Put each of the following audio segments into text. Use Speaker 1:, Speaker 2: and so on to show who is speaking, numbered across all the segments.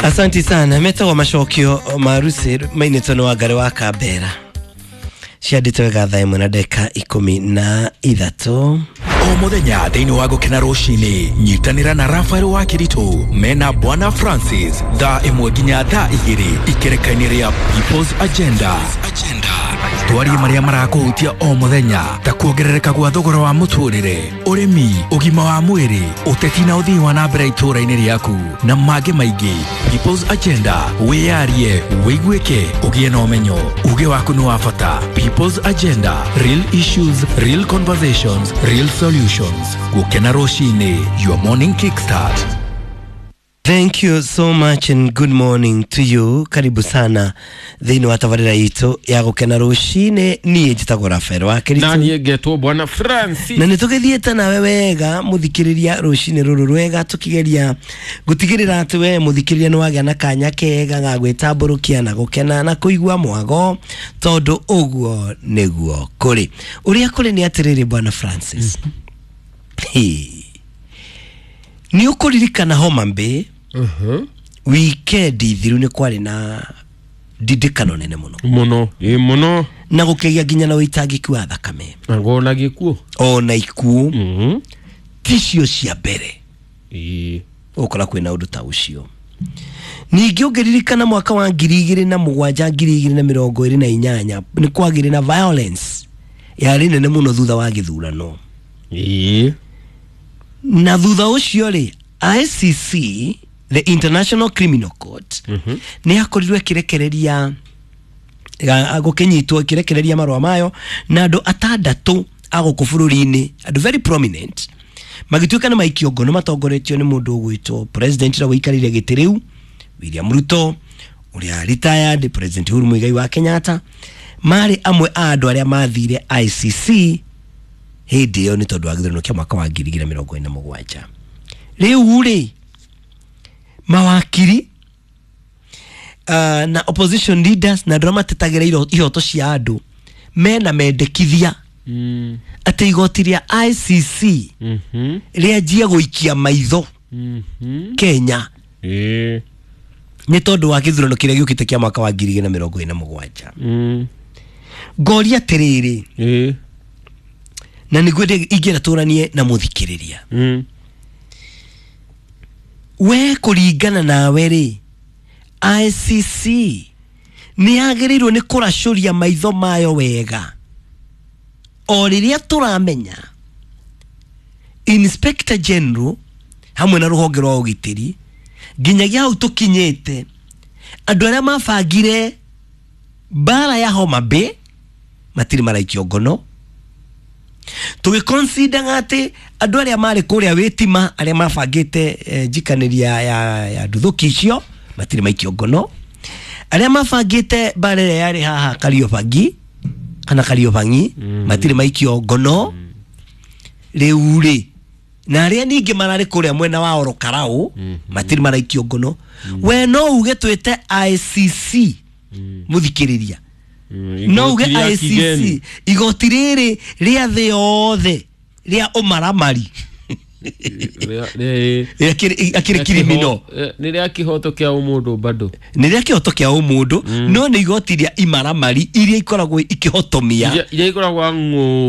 Speaker 1: Asanti sana. Metagwo Macokio Marusi, mainĩtwo nĩ Wangari wa Kambera. Ciandĩtwo wega 1:13.
Speaker 2: O muthenya thĩinĩ wa Gũkena Rũcinĩ, nyitanĩra na Rafael wa Kĩritũ mena Bwana Francis 1:00 nginya 2:00 ikereka-inĩ rĩa People's Agenda. Twarie marĩa marakũhutia o mũthenya ta kuongerereka gwa thogora wa mũtũrĩre, ũrĩmi, ũgima wa mwĩrĩ, ũteti na ũthii wa na mbere itũũra-inĩ rĩaku na mangĩ maingĩ. People's Agenda, wĩyarie, wĩiguĩke, ũgĩe na ũmenyo. Uge waku nĩ wa bata. People's Agenda, real issues, real conversations, real solutions. Gũkena Rũcinĩ, your morning kickstart.
Speaker 1: Thank you so much and good morning to you. Karibu sana thĩinĩ wa tabarĩra itũ ya Gũkena Rũcinĩ. Niĩ njĩtagwo Rafael wa Kĩritũ.
Speaker 3: Na niĩ ngetwo Bwana Francis.
Speaker 1: Na nĩ tũgĩthiĩte nawe wega mũthikĩrĩria rũcinĩ rũrũ rwega, tũkĩgeria gũtigĩrĩra atĩ we mũthikĩrĩria nĩ wagĩa na kanya kega ga gwĩtambũrũkia na gũkena na kũigua mwago, tondũ ũguo nĩguo kũrĩ. Ũrĩa kũrĩ nĩ atĩrĩrĩ, Bwana Francis, nĩ ũkũririkana Homa Bay wikendi thiru nĩ kwarĩ na ndindĩkano nene mũno
Speaker 3: mũno, ĩ mũno,
Speaker 1: na gũkĩgĩa nginya na ũitangĩki wa thakame
Speaker 3: ona gĩkuũ,
Speaker 1: ona ikuũ ticio cia mbere
Speaker 3: ĩ
Speaker 1: ũkora kwĩna ũndũ ta ũcio. Ningĩ ũngĩririkana mwaka wa 2007, 2028 nĩ kwagĩrĩ na violence yarĩ nene mũno thutha wa gĩthurano.
Speaker 3: Ĩ
Speaker 1: na thutha ũcio rĩ, ICC, the International Criminal Court, nĩ yakorirwo ĩkĩrekereria, gũkĩnyitwo ĩkĩrekereria marũa mayo na andũ atandatũ a gũkũ bũrũri-inĩ, andũ very prominent, magĩtuĩka nĩ maikio ngono matongoretio nĩ mũndũ ũgwĩtwo president ũrĩa ũikarĩire gĩtĩ rĩu William Ruto, ũrĩa retired President Uhuru Muigai wa Kenyatta, marĩ amwe a andũ arĩa mathire ICC hĩndĩ ĩyo nĩ tondũ wa gĩthurano kĩa mwaka wa 2027. Rĩu rĩ, mawakiri na opposition leaders na andũ arĩa matetagĩra ihoto cia andũ mena mendekithia atĩ igoti rĩa ICC rĩanjie gũikia maitho Kenya nĩ tondũ wa gĩthurano kĩrĩa gĩũkĩte kĩa mwaka wa 2027. Ngoria atĩrĩrĩ, na nĩguo ingĩenda tũranie na mũthikĩrĩria, we kũringana nawe rĩ, ICC nĩ yagĩrĩirwo nĩ kũracũria maitho mayo wega o rĩrĩa tũramenya Inspector General hamwe na rũhonge rwa ũgitĩri nginyagia hau tũkinyĩte, andũ arĩa mabangire mbara ya Homa Bay matirĩ maraikio ngono, tũgĩconsider atĩ andũ arĩa marĩ kũrĩa wĩtima arĩa mabangĩte njikanĩria ya nduthũki icio matirĩ maikio ngono, arĩa mabangĩte mbara ĩrĩa yarĩ haha Kariobangi kana Kariobangi matirĩ maikio ngono. Rĩu rĩ, na arĩa ningĩ mararĩ kũrĩa mwena wa Orokarau matirĩ maraikio ngono. We no uge twĩte ICC mũthikĩrĩria, no uge ICC igoti rĩrĩ rĩa thĩ yothe rĩa ũmaramari akĩrĩ criminal,
Speaker 3: nĩ rĩa kĩhoto kĩa ũmũndũ, bado
Speaker 1: nĩ rĩa kĩhoto kĩa ũmũndũ, no nĩ igoti rĩa imaramari iria ikoragwo ikĩhotomia,
Speaker 3: iria ikoragwo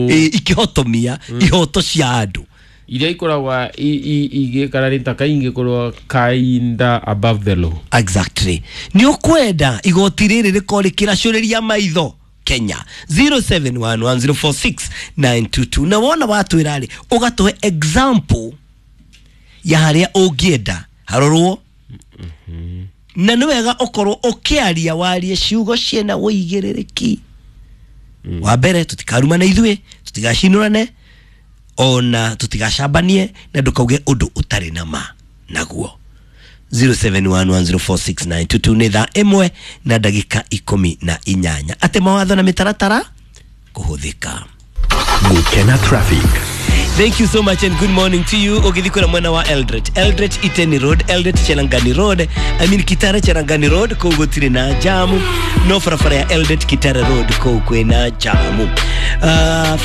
Speaker 1: ikĩhotomia ihoto cia andũ,
Speaker 3: iria ikoragwo igĩkara rĩ ta kaingĩ korwo kainda above the law.
Speaker 1: Exactly. Nĩ ũkwenda igoti rĩrĩ rĩkorwo rĩkĩracũrĩria maitho Kenya 0711046922, na wona watwĩra rĩ, ũgatũhe example ya harĩa ũngĩenda harorwo, na nĩ wega ũkorwo ũkĩaria warie ciugo ciĩna ũigĩrĩrĩki. Wa mbere, tũtikarumane ithuĩ, tũtigacinũrane, ona tũtigacambanie, na ndũkauge ũndũ ũtarĩ na ma naguo. 0711046922 nĩ 1:18 atĩ mawatho na mĩtaratara kũhũthĩka.
Speaker 2: Gũkena Traffic.
Speaker 1: Thank you so much and good morning to you. Ũgĩthiĩ kwĩna mwena wa Eldoret, Eldoret Iteni Road, Eldoret Chelangani Road, I mean Kitale Cherangani Road kũu gũtirĩ na jamu, no barabara ya Eldoret Kitale Road kũu kwĩna jamu.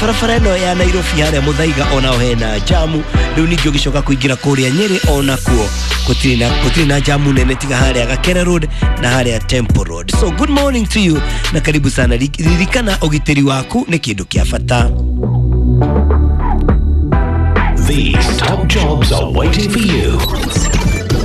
Speaker 1: Barabara ĩno ya Nairobi harĩa Muthaiga onao hena jamu. Rĩu ningĩ ũgĩcoka kũingĩra kũrĩa Nyĩrĩ onakuo gũtirĩ na jamu nene tiga harĩa Gakere Road na harĩa Temple Road. So good morning to you na karibu sana. Ririkana ũgitĩri waku nĩ kĩndũ kĩa bata.
Speaker 4: These top jobs are waiting for you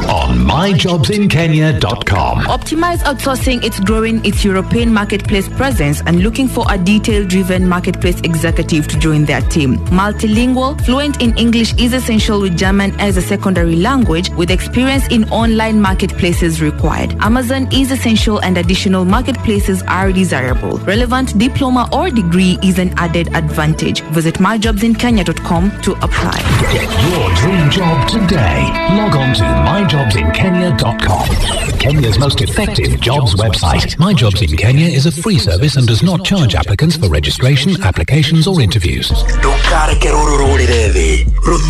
Speaker 4: on myjobsinkenya.com.
Speaker 5: Optimize Outsourcing is growing its European marketplace presence and looking for a detail-driven marketplace executive to join their team. Multilingual, fluent in English is essential with German as a secondary language, with experience in online marketplaces required. Amazon is essential and additional marketplaces are desirable. Relevant diploma or degree is an added advantage. Visit myjobsinkenya.com to apply.
Speaker 4: Get your dream job today. Log on to myjobsinkenya.com. Kenya's most effective jobs website. My Jobs in Kenya is a free service and does not charge applicants for registration, applications, or interviews.
Speaker 2: Ndũkareke rũrũ rũrĩre thĩ.